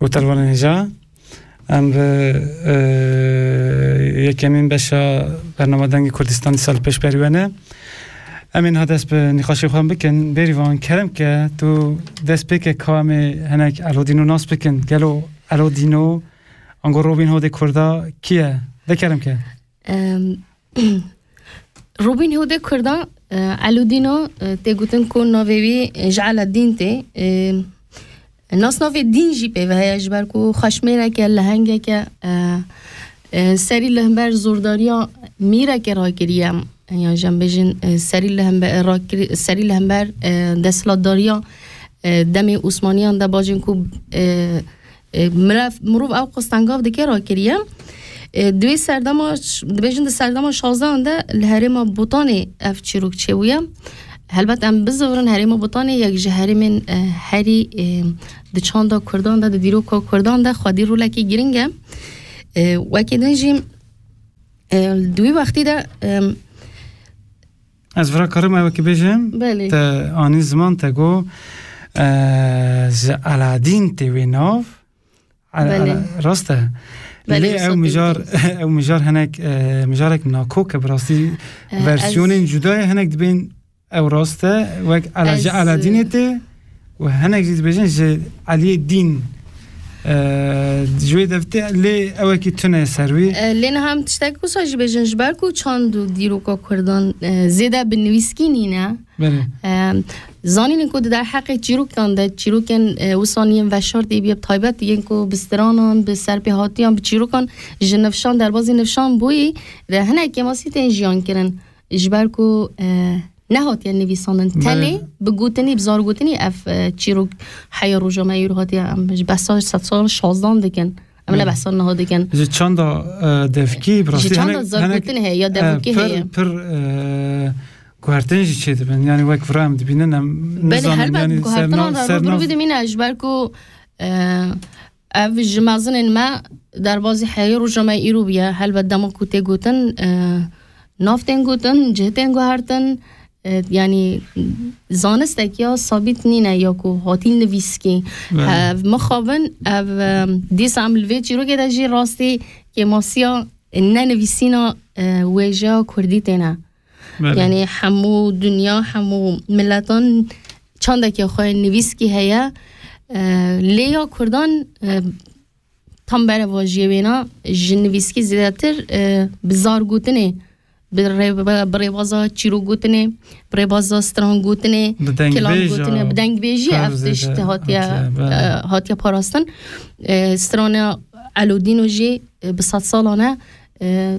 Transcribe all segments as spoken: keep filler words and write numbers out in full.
Gotarvanên hêja, em bi, e, yekemîn beşa bernama Dengê Kurdistan dîsa li pêş berî we ne. Em ê niha dest bi nîqaşê xwe bikin. Bêrîvan, kerem ke tu dest pê ke ka em ê hinek Elo Dîno nas bikin. Gelo Elo Dîno, ango Robin Hoodê Kurda kî ye? De kerem ke. Em, Robin Hoodê Kurda, e, Elo Dîno, e, tê gotin ku navê wî, e, ji Eladîn tê. E, nasnavê dîn jî pê ve heye, ji ber ku xweşmêreke, lehengeke, e, e, serî li hember zordariya mîreke rakiriye. Yan jî em bêjin, e, serî li hember, rakiri-, serî li hember, e, desthilatdariya, e, demê Osmaniyan de bacên ku, e, e, mirov, mirov ew qas tengav dike rakiriye. E, di wê serdema ş-, dibêjin di serdema şazdehan de li herêma Botanê ev çîrok çêbûye. Helbet em bizivirin herêma Botanê yek ji herêmên, e, herî, e, di çanda Kurdan de, di dîroka Kurdan de xwedî rolekî giring e. E, wekî din jî, e, di wî wextî de, e, Ez vira karim ew ki bêjim, Belê. Te anî ziman te got, e, ji Eladîn tê wê nav. Ele-, Belê. ele-, rast e. Belê, Lê ew wisa mijar, tê. Ew mijar hinek, e, mijarek nakok e, bi rastî E, versiyonên ez cuda ye, hinek dibên ew rast e, wek Ele-, ji Ez, Eladînê tê û hinek jî dibêjin ji Eliyê Dîn, e, ji wê devtê lê ewekî tune ser wî. E, lê niha em tiştek wisa jî bêjin, ji ber ku çand û dîroka Kurdan, e, zêde bi nivîskî nîne. Belê. E, zanînin ku di derheqê çîrokan de, çîrokên, e, wisa yên veşartî bîye, bi taybet yên ku bi stranan, bi serpêhatiyan, bi çîrokan ji nifşan, derbazî nifşan bûyî, de hinek kêmasî tên jiyan kirin. Ji ber ku, e, nehatiye nivîsandin. Belê. Tenê bi gotinî, bi zargotinî ev, e, çîrok heya roja me îro hatiye, em ji behsa sedsala şazdan dikin. Em ne Belê. behsa niha dikin. Ji çanda, e, devkî, bi Ji rastî çanda hinek, zargotinê hinek, heye ya e, devkî pir, heye. pir, e, guhertin jî çêdibin. Yani wek vira em dibînin, em Belê, nizanin, helbet yani guhertinan serna-, re sernav- rû bi rû bidimîne, ji ber ku, e, ev ji mezinên me derbazî heyê roja me îro bûye. Helbet dema ku tê gotin, e, nav tên gotin, cih tên guhertin, e, yani zanistek ya sabît nîne ya ku hatî nivîskî. Belê. Ev mixabin, ev, e, dîsa em li vê çîrokê de jî rastî kêmasiya nenivîsîna, e, wêjeya kurdî têne. Belê. Yani hemû dinya, hemû miletan çandekî xwe nivîskî heye. E, lê ya kurdan, e, tam berevajiyê wêna ji nivîskî zêdetir, e, bi zar gotinê, bi rê-, bi rêbaza çîrok gotinê, bi rêbaza stran gotinê, Bi dengbêja kilam gotinê, bi dengbêjî kar ev tişt zêde hatiye, hatiye, belê. e, hatiye parastin. E, strana Elodîno jî, e, bi sedsalan e, e,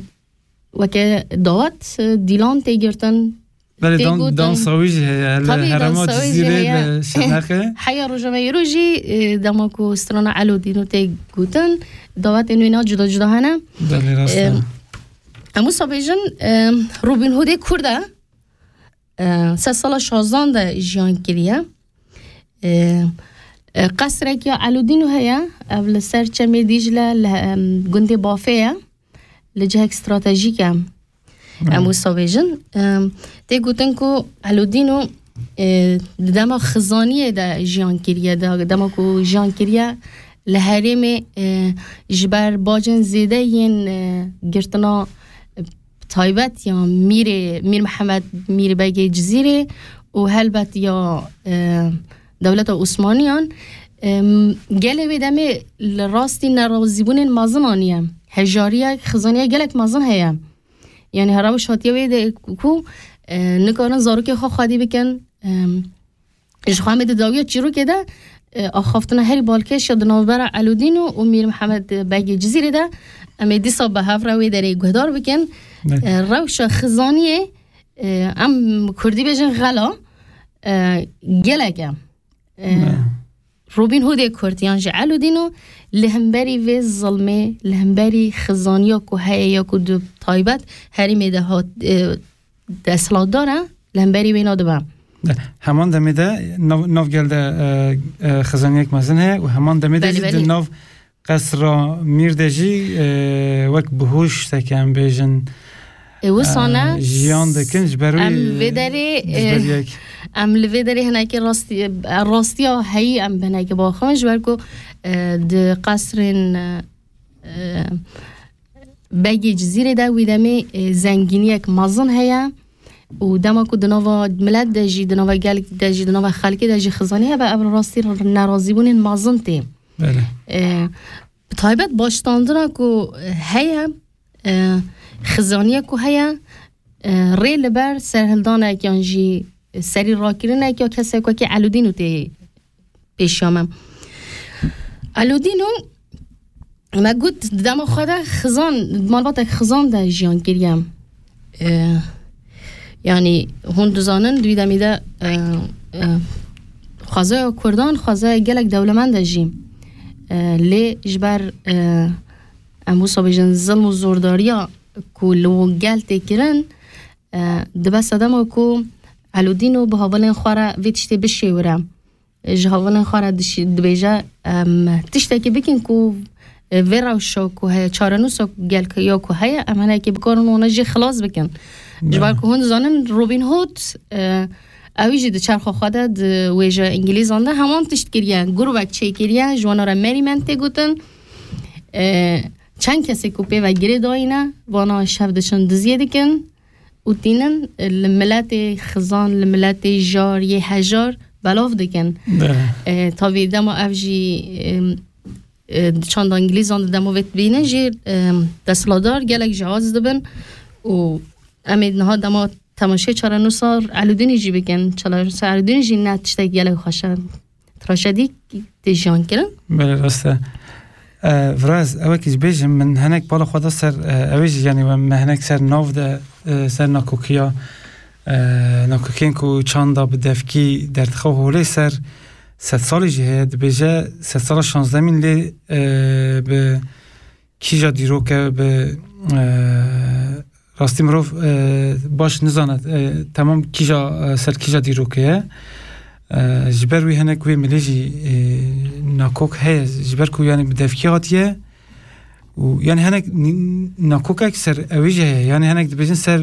weke dawet, e, dîlan tê girtin, Belê, tê dan-, gotin. dansa wî jî heye, li Tabii, herêma dansa wî jî Cizîrê heye. li Şirnexê. Heya roja me îro jî, e, dema ku strana Elo Dîno tê gotin, dawetên wêna cuda cuda hene. Belê, rast e. E, em wisa bêjin, e, Robin Hoodê Kurd e. E, sed sala şazdan de jiyan kiriye. E, e, qesrek ya Elodîno heye, ev li ser Çemê Dîcle, li, em, gundê Bafê ye, li cihek stratejîk e. Em Hmm. wisa bêjin. Em, tê gotin ku Elodîno, e, di dema xizaniyê de jiyan kiriye, de, dema ku jiyan kiriye, li herêmê, e, ji ber bacên zêde yên, e, girtina, e, taybet ya Mîrê, Mîr Mihemed, Mîr Begê Cizîrê û helbet ya, e, dewleta Osmaniyan, e, gelê wê demê li rastî nerazîbûnên mezin aniye. Hejariyek, xizaniya gelek mezin heye. Yani her rewş hatiye wê de ku, e, nikarin zarokê xwe xwedî bikin, e, Ji xwe em ê di dawiya çîrokê de, e, axaftina herî balkêş ya di navbera Elodîno û Mîr Mihemed Begê Cizîrê de, em ê dîsa bi hev re wê derê guhdar bikin. Evet. E, rewşa xizaniyê, e, em kurdî bêjin xela, e, gelek e. E, Evet. Robin Hoodê Kurd yan jî Elodîno li hemberî vê zilmê, li hemberî xizaniya ku heye ya ku di taybet herêmê de hat, e, desthilatdar e, li hemberî wê nadibe. De, heman demê de nav, nav gel de, e, e, xizaniyek mezin heye û heman demê de Belê, jî di belê. nav qesra Mîr de jî, e, wek bihuşteke em bêjin, E, wisa ne? Jiyan dikin ji ber wî, em vê derê, ji ber e, yek. Em li vê derê hinekî rastî-, e, rastiya heyî em bi hinekî baxin, ji ber ku, e, di qesrên, e, e, Begê Cizîrê de wî demê, e, zengîniyek mezin heye û dema ku di nava milet de jî, di nava gelek de jî, di nava xelkê de jî xizanî hebe, ev rastî nerazîbûnên mezin tê. Belê. E, bi taybet baştandina ku heye, e, xizaniye ku heye, e, rê li ber serhildanek yan jî serî rakirinek ya kesek wekî Elûdîno tê pêşiya me. Elûdîno, me got, di dema xwe de xizan, di malbatek xizan de jiyan kiriye. E, yanî hûn dizanin, di wî demî de, e, e, xwezaya Kurdan, xwezaya gelek dewlemend e jî. E, lê ji ber, e, em wisa bêjin, zilm û zordariya ku li wan gel tê kirin, e, dibe sedema ku Elûdîno bi havalên xwe re vê tiştê bişêwire. Ji havalên xwe re dişî-, dibêje, em tiştekî bikin ku, e, vê rewşa ku heye, çarenûsa ku gel ya ku heye, em hinekî bikarin wana jî xilas bikin. Ji ber ku hûn dizanin Robin Hood, e, ew jî di çerxa xwe de di wêjeya Îngilîzan de heman tişt kiriye. Grûbek çêkiriye, ji wana re merîment tê gotin. E, çend kesê ku pê ve girê dayîne, vana şev diçin diziyê dikin û tînin, e, li miletê xizan, li miletê jar yê hejar belav dikin. Be. E, tabî dema ev jî, e, e, di çanda Îngilîzan de dema vê dibînin jî, e, desthilatdar gelek jiyaciz dibin û em ê niha dema temaşê çarenûsa Elûdînî jî bikin. Çarenûsa Elûdînî jî ne tiştek gelek xweş e. Trajedî tê jiyan kirin. Belê, rast e. E, Viraz, ew wekî ji bêjim, min hinek bala xwe da ser, e, ew ê jî, yanî, we me hinek ser nav de, e, ser nakokiya, e, nakokên ku çanda bi devkî derdixe holê ser sedsalî jî heye, dibêje sedsala şazdemîn lê, e, bi kîja dîrok e, bi, e, rastî mirov, e, baş nizane, e, temam kîja, e, ser kîja dîrokê ye. E, ji ber wî hinek wê milê jî, e, nakok heye, ji ber ku, yanî, bi devkî hatiye û, yanî, hinek n-, nakokek ser ewî jî heye. Yanî, hinek dibêjin ser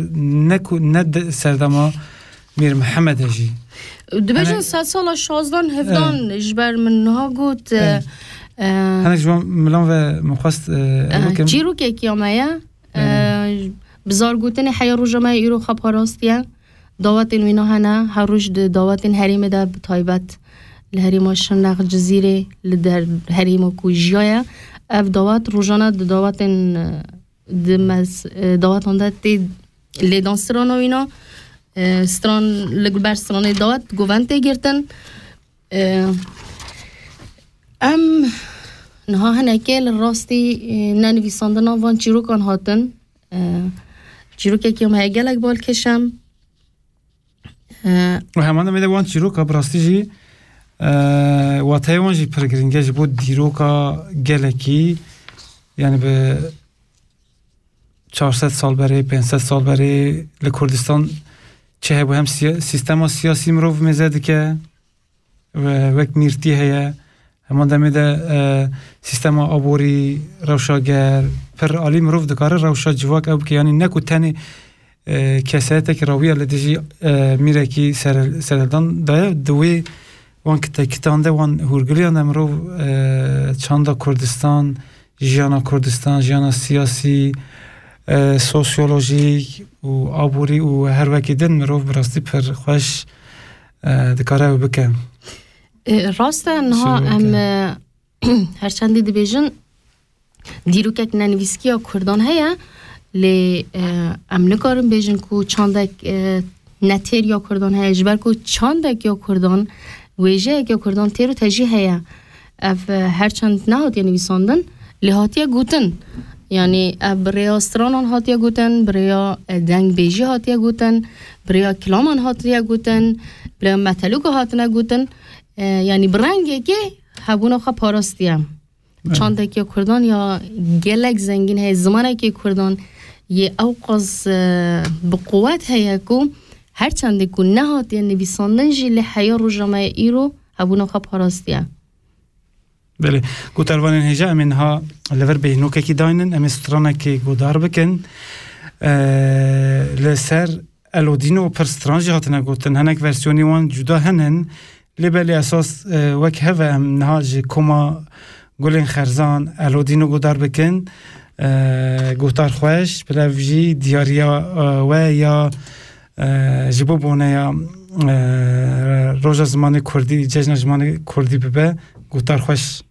ne ku, ne de, serdema Mîr Mihemed e jî. Dibêjin hinek sed sala şazdan hevdan, e, ji ber min niha got, e, e, hinek ji wan milan ve min xwest, e, e, ev bikim. Çîrokekî ya me ye. E, bi zargotinê heya roja me ya îro xwe parastiye. Dawetên wîna hene, her roj di dawetên herêmê de, bi taybet li herêma Şirnex, Cizîrê, li der herêma ku jiyaye. Ev dawet rojane di dawetên, e, di mez-, e, dawetan de tê lêdan strana wîna, e, stran li ber stranê dawet govend tê girtin. E, em niha hinekê li rastî, e, nenivîsandina van çîrokan hatin. E, çîrokekî em heye gelek balkêş e. E, û heman demê de wan çîroka bi rastî jî, e, wateyê wan jî pir girîng e ji bo dîroka gelekî, yanî bi çar sed sal berê, pênc sed sal berê li Kurdistan çi hebû, hem siya-, sîstema siyasî mirov mêze dike, we-, wek mîrtî heye, heman demê de, e, sîstema aborî, rewşa ger, pir alî mirov dikare rewşa civak ew bike, yanî ne ku tenê, e, kesayetekî rawiya li dijî, e, mîrekî ser-, serhildan daye, di wê wan kite-, kitan de, wan hûrgiliyan de mirov, e, çanda Kurdistan, jiyana Kurdistan, jiyana siyasî, e, sosyolojîk û aborî û her wekî din mirov bi rastî pir xweş, e, dikare ew bike. E, rast e, niha em, e, her çendî dibêjin, dîrokek nenivîskî ya Kurdan heye, lê, e, em nikarin bêjin ku çandek, e, netêr ya Kurdan heye, ji ber ku çandek ya Kurdan, wêjeyek ya Kurdan têr û tejî heye. Ev, e, her çend nehatiye nivîsandin, lê hatiye gotin. Yanî ev bi rêya stranan hatiye gotin, bi rêya, e, dengbêjî hatiye gotin, bi rêya kilaman hatiye gotin, bi rêya metelûka hatine gotin. E, yanî bi rengekê hebûna xwe parastiye. Evet. Çandekî Kurdan ya gelek zengîn heye, zimanekî Kurdan yê ewqas, e, bi quwet heye ku her çendê ku nehatiye nivîsandin jî lê heya roja me ya îro hebûna xwe parastiye. Belê. Gotarvanên hêja, em ê niha li vir bêhnokekî daynin, em ê stranekê guhdar bikin. e, li ser Elodîno pir stran jî hatine gotin. Hinek versiyonî wan cuda hene, lê belê esas, e, wek hev e, em niha ji koma Gulên Xerzan Elodîno guhdar bikin. E, guhdar xweş, bila ev jî diyariya, e, we ya, e, ji bo boneya, e, Roja Zimanê Kurdî, Cejna Zimanê Kurdî bibe. Guhdar xweş.